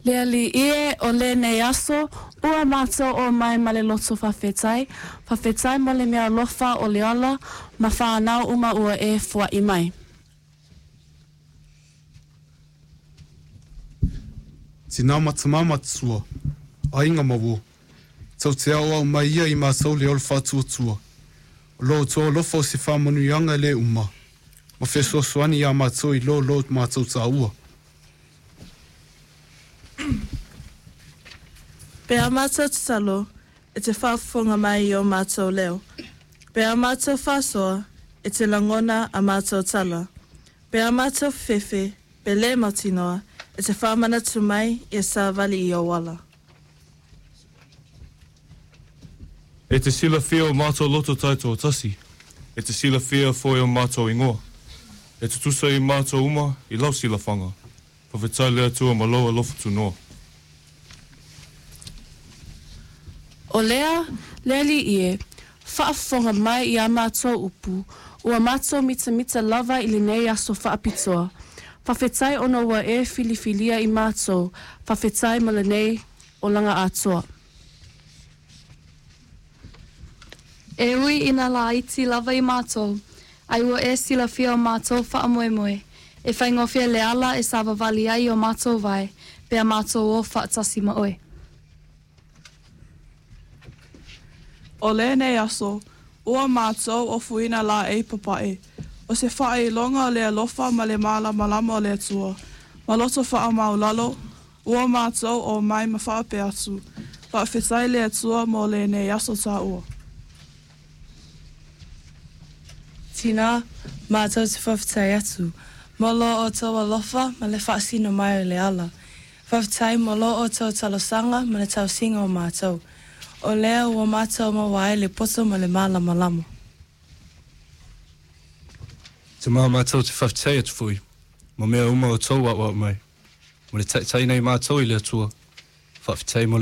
Le Alii e, o lenei aso, ua matou o mai ma le loto faafetai, faafetai mo le meaalofa o le ola ma whanau uma ua e fua'i mai. Tinā ma tamā matua, aiga ma uo, tou te aoao mai ia i matou le ola faatuatua. O lo outou alofa o se faamanuiaga e le uma, ma fesoasoani iā matou i lo lo matou taua. Pe a mātou tatalo, e te faafofoga mai i o mātou leo. Pe a mātou faasoa, e te lagona a mātou tala. Pe a mātou fefe, pe lē mautinoa, e te faamanatu mai ia savali i ou ala. E te silafia o mātou loto taitoatasi, e te silafia foi o mātou ingoa. E tutusa i mātou uma i lau silafaga. Faafetai le Atua ma lou alofa tunoa. O lea, le Alii e, faafofoga mai i a matou upu, ua matou mitamita lava i lenei aso faapitoa. Faafetai ona ua e filifilia i matou, faafetai mo lenei olaga atoa. E ui ina laiti lava i matou, ai ua e silafia o matou faamoemoe, e faigofie le ala e savavali ai o matou vae, pe a matou o faatasi ma oe. O lenei aso, ua matou ofuina laei papae, o se faailoga o le alofa ma le malamalama o le Atua, ma loto faamaualalo, ua matou o mai ma faapea atu, Faafetai le Atua mo lenei aso taua. Tinā, matou te faafetai atu, mo lo outou alofa ma le faasino mai o le ala. Faafetai mo lo outou talosaga ma le tausiga o matou. O lea ua matou maua ai le poto ma le malamalama. Tamā, matou te faafetai atu foi, mo mea uma o tou aoao mai, mo le taitaiina i matou i le Atua. Faafetai mo.